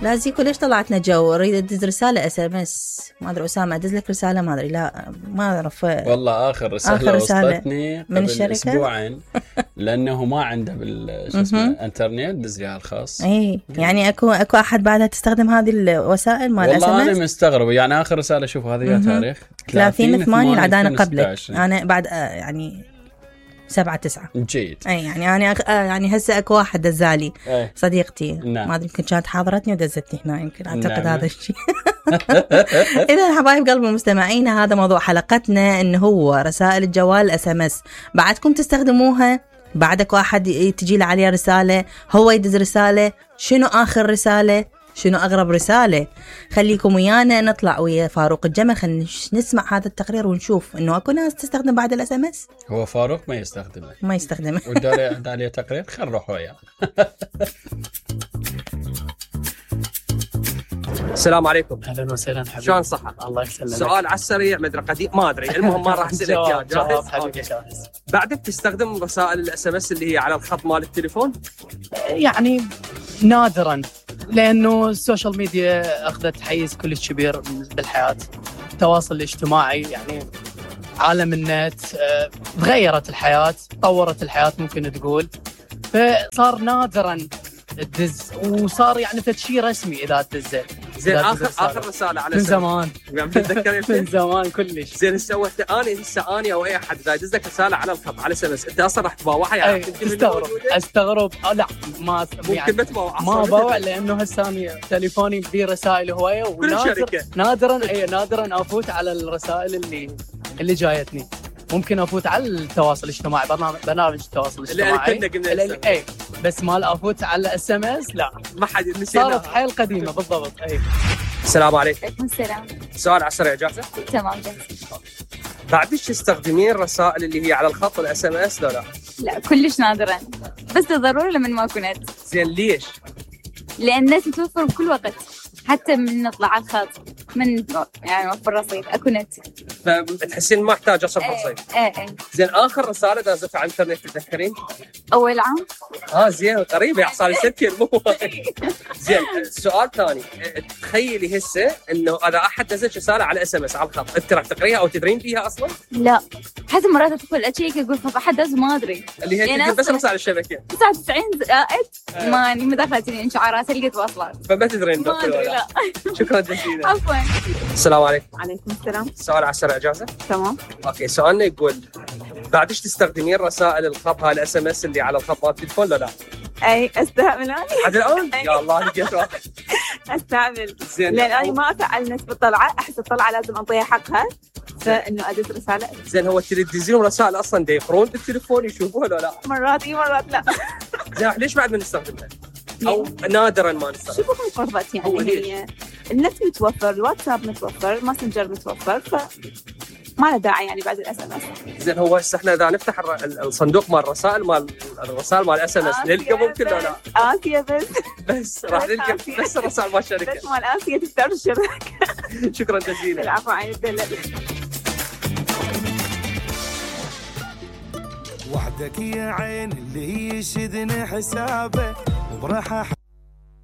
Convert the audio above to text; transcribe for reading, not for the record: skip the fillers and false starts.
لا زيكو ليش طلعتنا جو؟ اريد ادز رساله SMS، ما ادري اسامه ادز لك رساله، ما ادري، لا ما اعرف والله اخر رساله وصلتني من الشركه اسبوعين لانه ما عنده بالانترنت دز لي الخاص. اي يعني اكو احد بعدها تستخدم هذه الوسائل مال SMS؟ والله انا مستغرب، يعني اخر رساله شوف هذا يا تاريخ 30/8 العدانه قبلك، انا بعد يعني 7/9 جيد. اي يعني انا يعني هسه اكو واحد دزالي صديقتي، نعم. ما ادري يمكن كانت حاضرتني ودزتني هنا، يمكن اعتقد هذا الشيء. اذا حبايب قلبي المستمعين، هذا موضوع حلقتنا، انه هو رسائل الجوال SMS. بعدكم تستخدموها؟ بعدك واحد تجي له عليه رساله، هو يدز رساله، شنو اخر رساله، شنو أغرب رسالة؟ خليكم ويانا نطلع ويا فاروق الجمل، خلينا نسمع هذا التقرير ونشوف إنه أكو ناس تستخدم بعد الSMS. هو فاروق ما يستخدمه وداري عليه تقرير، خل نروح وياه. السلام عليكم. اهلا وسهلا حبيبي. شلون صحة؟ الله يسلمك. سؤال على السريع مدري قديم ما ادري، المهم ما راح اسالك جاهز حبيبي جاهز. بعدك تستخدم رسائل الSMS اللي هي على الخط مال التليفون؟ يعني نادرا، لانه السوشيال ميديا اخذت حيز كلش كبير بالحياه، التواصل الاجتماعي يعني عالم النت، تغيرت الحياه، طورت الحياه ممكن تقول، فصار نادرا الدز، وصار يعني شيء رسمي اذا تدز. زين اخر رساله على من زمان يعني تتذكر من زمان كلش. زين سويت انا او اي احد اذا يدز لك رساله على الخط على SMS انت اصلا راح تباوعها يعني؟ استغرب لا ما ممكن يعني ما باوع، لانه هسه تليفوني فيه رسائل هوايه، نادرا افوت على الرسائل اللي جايتني. ممكن افوت على التواصل الاجتماعي، برنامج التواصل الاجتماعي بس ما افوت على SMS، لا ما حد نسينا، صارت حيل قديمه بالضبط. السلام عليكم. عليكم السلام. سؤال على السريع، جاهزه؟ تمام جاهز. بعدش تستخدمين الرسائل اللي هي على الخط الSMS لا كلش نادرا، بس ضروري لما ما كنت. زين ليش؟ لان الناس تتوفر بكل وقت، حتى من نطلع على الخط، من يعني وفر رصيد اكو نت، فتحسين ما احتاج اصرف رصيد. زين اخر رساله دازتها على الانترنت تتذكرين؟ اول عام. زين قريبه يا صار 6 زين سؤال ثاني، تخيلي هسه انه اذا احد دزت رساله على SMS على الخط، انت راح تقريها او تدرين فيها اصلا؟ لا حتى مرات ادخل اشيك اقول طب احد دز ما ادري، اللي هي يعني بس رسائل الشبكه 99 زائد ماني مدخلتني انشعارات لقيت واصلات، فما تدرين لا. شكرا جزيلا. عفوا. السلام عليكم. عليكم السلام. سؤال على السريع، جاهزه؟ تمام. اوكي، سؤالنا يقول بعدش تستخدمين رسائل الخط هاي الSMS اللي على الخط مال التليفون لا؟ اي استعمل انا حد الان؟ يا الله لقيت واحد. استعمل زين، لان انا ما افعل نسبه الطلعه، احس الطلعه لازم انطيها حقها، فانه ادز رساله. زين هو تدزين رسائل اصلا يقرون بالتليفون يشوفوها ولا لا؟ مرات مرات لا. زين ليش بعد ما نستخدمها؟ او نادرا ما نستخدمها؟ شوفوا قربت يعني هي النت متوفر، الواتساب متوفر، الماسنجر متوفر، ما له داعي يعني بعد الSMS. زين هو هسه احنا اذا نفتح الصندوق مال الرسائل مال SMS نلقى ممكن ولا لا؟ آسيا بس راح نلقى بس الرسائل مال الشركه، بس مال آسيا تسترشد. شكرا جزيلا. العفو، عين الدلة. وحدك يا عين اللي يشدني حسابه وبراحة